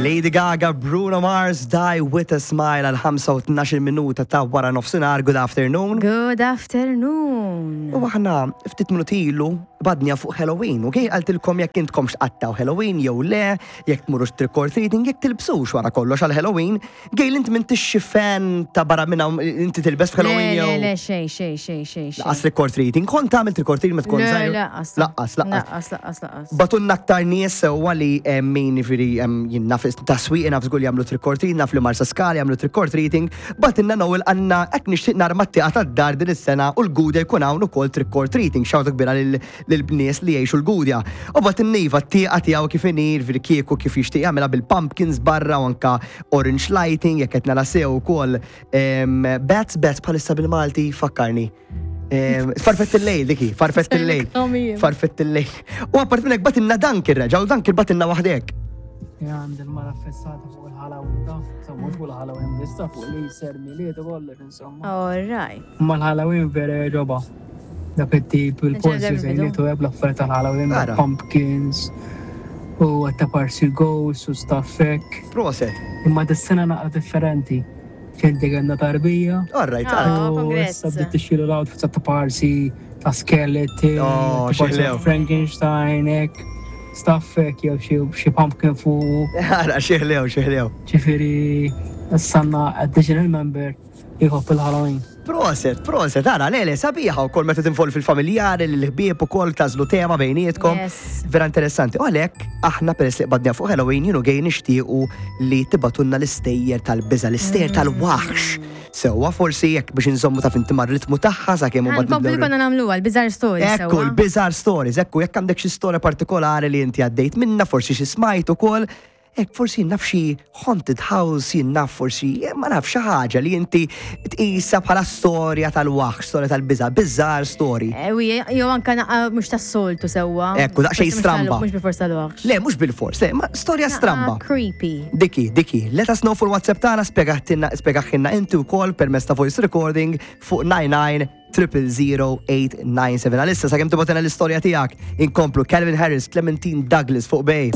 Lady Gaga, Bruno Mars, Die With a Smile għal 5 minuta ta' wara nofsinhar. Good afternoon. Good afternoon. U aħna ftit minuti ilu badnija fuq Halloween. U għej għaltilkom jekk intkom x'qattaw Halloween jew le, jekk tmurux trick or treating, jekk tilbsux wara kollox għal Halloween. Gejl, inti minn tixxi fan ta' barra minn hawn inti tilbes f'Halloween Le, jew? le, xej, xej, xej, xej. xej. Laqqas trick or treating. Kont tagħmel trick or treating meta tkun Le, żgħir? Laqqas. Laqqas, laqqas. Laqqas, laqqas, laqqas. Batunna aktar nies sewwa li min jiġifieri jien naf ta' swieqi naf żgur li jagħmlu trick or treating, naf li Marsa Skala jagħmlu trick or treating. Batinna Noel għandna hekk nixtieq narma t-tieqa tad-dar din is-sena u l-Gudja jkun hawn ukoll trick or treating. Xawta kbira lil nies li jgħixu l-Gudja. U batinna iva t-tieqa tiegħu kif inhi, jiġifieri kieku kif jixtieq jagħmilha bil-pumpkins barra u anka orange lighting jekk qed nara sew ukoll bats bats bħalissa bil-Malti fakkarni. Farfett il-lejl diki, farfett il-lejl. Farfett il-lejl. U apart minn hekk batinna Duncan reġa' u Duncan batinna waħdek. Għand il-mara fissata fuq il-Halloween ta' insomma, mhux fuq il-Halloween biss fuq li jser miliet u kollox insomma. All right. Ma l-Halloween vera ġoba. Dak it-tip il-post żejniet u l-affarijiet tal-Halloween, pumpkins u ta' parsi ghosts u stuff hekk. Proset. Imma dis-sena naqra differenti. Kenti kellna tarbija. All right, Oh, U issa bdiet tixxilu l-outfits ta' parsi ta' skeleton, Oh, ta' parsi xieħlew. Frankenstein, hekk, stuff hekk jew xi xi pumpkin fuq. Ara, xieħlew, xieħlew. Ġifieri issa għandna additional member li jħobb il-Halloween. Proset, proset, ara, le, le, sabiħa u kol meta tinvolvi fil-familjari, l-ħbieb u kol tażlu tema bejnietkom. Yes. Vera interessanti. U għalek, aħna peress li qbadna fuq Halloween, jienu għej nixtiequ li tibatunna l-istejjer tal-biża, l-istejjer tal-waħx. Sewwa forsi jekk biex inżommu ta' finti mar-ritmu tagħha sakemm Ħa nkomplu konna nagħmluha l-bizarre stories. Ekku, sewwa. l-bizarre stories, ekku, jekk għandek xi storja partikolari li inti għaddejt minna, forsi xi smajt ukoll, hekk forsi jien naf xi haunted house, jien naf forsi, ma naf xi ħaġa li inti tqisha bħala storja tal-waħx, storja tal-biża, bizarre story. Jew anka naqa mhux tas-soltu sewwa. Ekku, daqsxejn Forsi mhux stramba. Mhux bil-fors tal-waħx. Le, mhux bil-fors, le, ma storja stramba. Creepy. Diki, diki, let us know fuq il-WhatsApp tagħna spjegaħilna inti wkoll permezz ta' voice recording fuq 99 000 897. Għalissa sakemm tibgħatilna l-istorja tiegħek, inkomplu Calvin Harris, Clementine Douglas fuq Bay.